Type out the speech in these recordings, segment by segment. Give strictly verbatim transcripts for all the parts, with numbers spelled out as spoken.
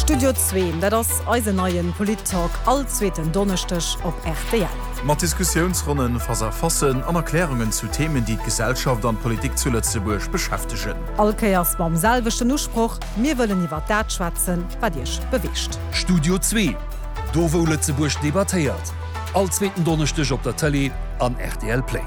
Studio zwee, dat ass eisen neien Polit-Talk all zweeten Donneschdeg op R T L. Mat Diskussiounsronnen, Face-à-facen an Erklärungen zu Themen, déi d'Gesellschaft an d'Politik zu Lëtzebuerg beschäftegen. All Kéiers mam selwechten Usproch: Mir wëllen iwwer dat schwätzen, wat iech beweegt. Studio zwee, do wou Lëtzebuerg debattéiert. All zweeten Donneschdeg op der Tëlee an R T L Play.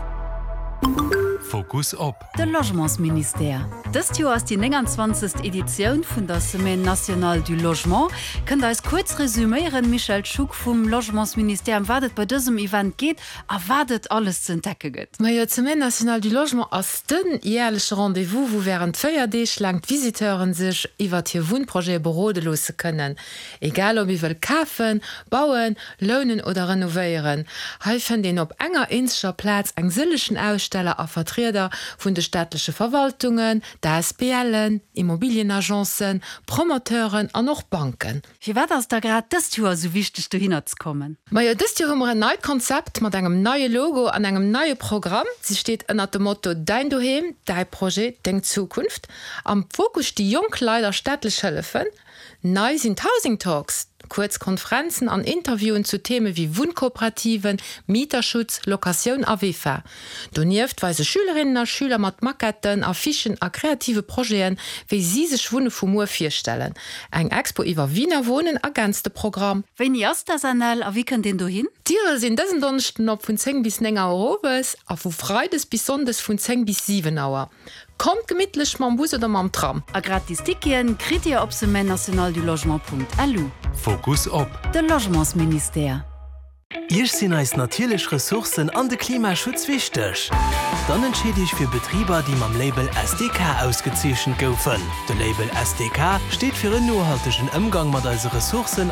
Fokus op. De Logementsministère. Dëst Joer ass déi nénganzwanzegst. Editioun vun der Semaine nationale du Logement. Kënnt Der eis kuerz resuméieren, Michèle Schuck vum Logementsministère, ëm wat et bei dësem Event geet a wat et alles ze entdecke gëtt? Majo, d'Semaine nationale du Logement ass den jäerleche Rendez-vous, wou wärend véier Deeg laang d'Visiteuren sech iwwer hir Wunnprojete berode loosse kënnen. Egal ob ee wëll kafen, bauen, lounen oder renovéieren. Hei fënnt een op enger eenzeger Plaz eng sëllegen Aussteller a Vertrieder vun de staatleche Verwaltungen, d'A S B Len, Immobilienagencen, Promoteuren an och Banken. Firwat ass da grad dëst Joer sou wichteg, dohinner ze kommen? Majo, dëst Joer hu mer en neit Konzept mat engem neie Logo an engem neie Programm. Si steet ënner dem Motto Däin Doheem, däi Projet, deng Zukunft. Am Fokus sti jonk Leit a staatlech Hëllefen. Nei sinn d'Housing Talks, kuerz Konferenzen an Interviewen zu Theme wéi Wunnkooperativen, Mieterschutz, Locatioun a V E F A. Donieft weise Schülerinnen a Schüler mat Maquetten, Affichen a kreative Projeten, wéi si sech Wunne vu muer virstellen. Eng Expo iwwer Wiener Wohnen ergänzt de Programm. Wéini ass d'S N L a wéi kënnt een dohin? D'Diere sinn dësen Donneschden op vun zéng bis néng Auer owes a vu Freides bis Sonndes vun zéng bis siwen Auer. Kommt gemittlech mam Bus oder mam Tram. A gratis Ticketen kritt Dir op semaine nationale du logement Punkt L U. Fokus op. De Logementsministère. Iech sinn eis natierlech Ressourcen an de Klimaschutz wichteg. Dann entscheet Iech fir Betriber, déi mam Label S D K ausgezeechent goufen. De Label S D K steet fir en nohaltegen Ëmgang mat eise Ressourcen.